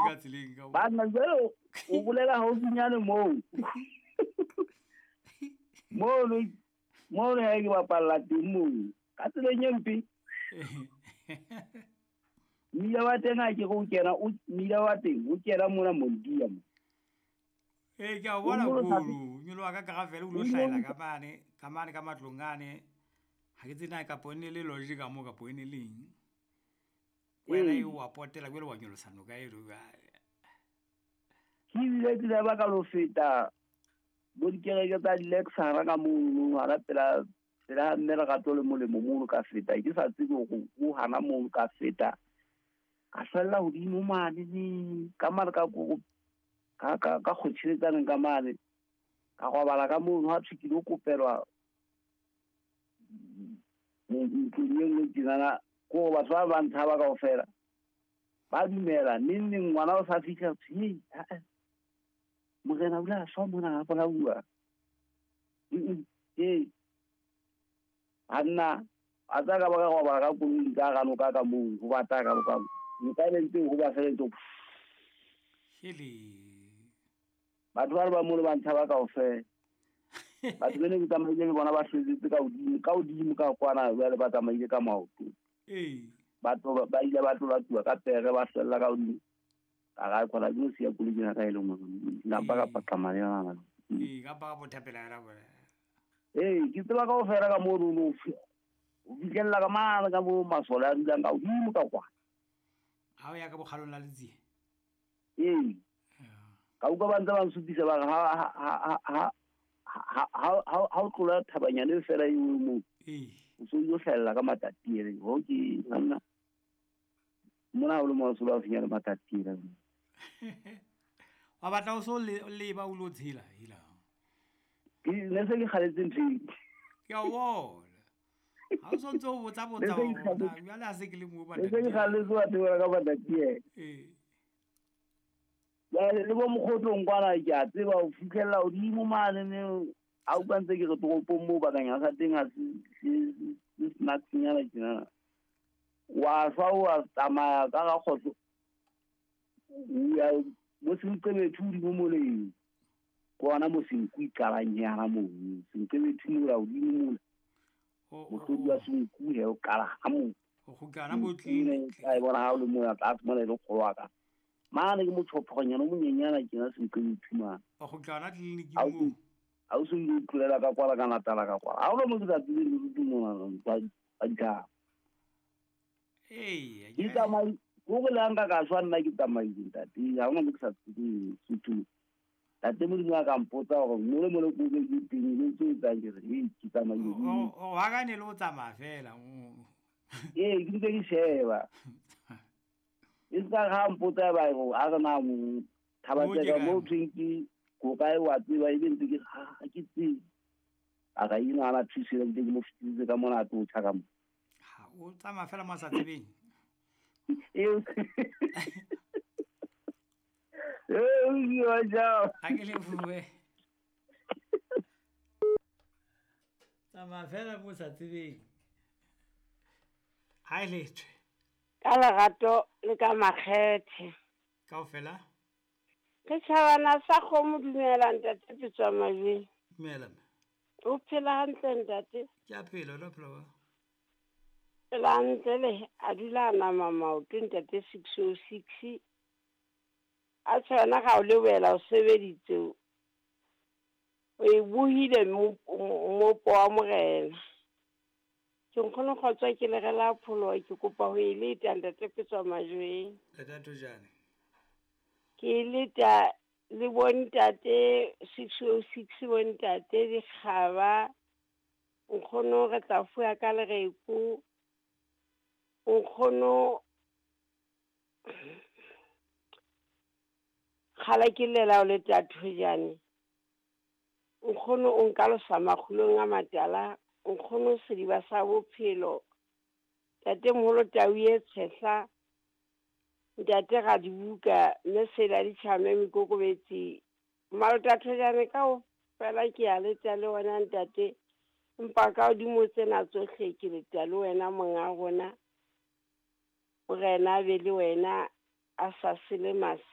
ka tseleng ka Banna jwale o bolela haufinyane moo. Mono mono ha ke bapalla teng moo. Ka tseleng e mpe. Mmila wa teng ha ke re o kena o mmila wa teng o kena mona Mondia mo. Ee, ke a o bona kolo nyoloha ka gravel o lo hlahela ka mane ka mane ka matlong ane. Ha ke tsebe na kapo e ne le lodge ka moo kapo e ne le eng. Wena e wa potela jwale wa nyolosa noka eno jwale. Ke ebile ke ba ka lo feta bo dikereke tsa di-lecture ka mono hana pela pela mme Lerato le Molemo mono ka feta ke sa tsebe hore o hana mono ka feta ka hlwella hodimo mane ne ka mane ka ko ka ka ka kgotjheletsaneng ka mane ka robala ka mono ha thwe ke lo kopelwa ntlong e nngwe tjenana ko batho ba ba ntshaba kaofela ba dumela neng neng ngwana o sa fihla thwe morena o ile a shwa mona a bolauwa. Ee banna a tsa ka ba ka robala ka koloing ka hara noka ka moo ho bata ka boka noka e ntse ho ba fela ntse Hele. Batho ba le ba mono ba ntshaba kaofela. Batho bene ke tsamaile le bona ba hlwetsetse ka hodimo ka hodimo ka kwana jwale ba tsamaile ka maoto. Ee. Batho ba ile ba tlolatuwa ka pere ba hlwella ka hodimo. Ka ra khona ke no siya koloi ena ka e le nngwe. Napa ka paqama le yona. Ee, ka pa ka bothapela yona bona. Ee, ke tseba kaofela ka mono no o fihlella ka mane ka mo masole a dulang ka hodimo ka kwana. Ha o ya ka bokgalong la Letsie. Ee. Ka utlwa ba ntse ba nsupisa ba re ha ha o tlola thabanyane fela eo moo. Ee. O so o hlahella ka Matatiele. Ho ke nna. Mona o le mo so ba finya le Matatiele. Wa batla o so leba o lo tshela hela. Ke ne se ke kgaletse ntho e. Ke a bona. Ha o so ntse o botsa botsa jwale ha se ke le mo Ne se ke kgaletse batho ba ka Matatiele. Ee. Jwale le bo mokgotlong kwana ke a tseba o fihlella hodimo mane ne a utlwa ntse ke re toropong moo bakanyana sa teng ha se snacksnyana tjenana. Wa shwa wa tsamaya ka ga kgotso. Ya bo Senqebethu hodimo moleng. Ke hona mo Senku e qalang yana moo. Senqebethu mola hodimo mola. Mohlodi wa Senku he o qala ha moo. O kgutla hona mo clinic. Ka e bona ha o le mona tlase mona e le kgolo wa ka. Mane ke motjhophonyana o monyenyana tjena Senqebethu mane. O kgutla hona clinic moo. Ha o so o tlolela ka kwala ka Natala ka kwala. Ha o le mo ke sa tsebeng le mona ba dithaba. Ee, ke tsamaile go le nka ka shwa nna ke tsamaile ntate. Ha hona mo ke sa tsebeng Sotho. Ntate Modimo a ka mpotsa hore mole mole ko ke ke teng le tse etsang ke re ee ke tsamaile. O wa ka ne le o tsamaya fela. Ee, ke ntse ke sheba. E ska ha mpotsa ba re a re na mo thaba tsa ka mo thweng ke ko kae wa tseba ebe ntse ke ha ke tsebe. A ka ina ana thusile ntse ke mo fitisitse ka mona a tlo tjha ka mo. Ha o tsamaya fela mo sa tsebeng. Ee. Ee, wa jao. Ha ke le bue. Tsamaya fela mo sa tsebeng. Ha e lethwe. Ka lerato le ka makgethe. Kaofela? Ke tjhabana sa kgomo dumela ntate Petswa Majweng. Dumela mme. O phela hantle ntate? Ke a phela, o phela wa. Phela hantle le a dula a nama maoto ntate 606. A tshwana ga o lebela o sebeditse. O e buhile mmopo wa morena. Ke nkgono kgotsa ke le rela pholo ke kopa ho e leta ntate Petswa Majweng. Leta Tojane. Ke leta le bontate 606 bontate dikgaba. Nkgono re tla fuwa ka lereko. Nkgono kgala ke lela o le Thojane. Nkgono o nka losa makgulong a matala. Nkgono sediba sa bophelo. Ntate moholo tau e tshehla. Ntate ga dibuka mme sela ditjhame mekokobetsi. Malota Thojane ka o fela ke a leta le wena ntate. Empa ka hodimo tsena tsohle ke leta le wena monga rona. Morena a be le wena a sa sele masi.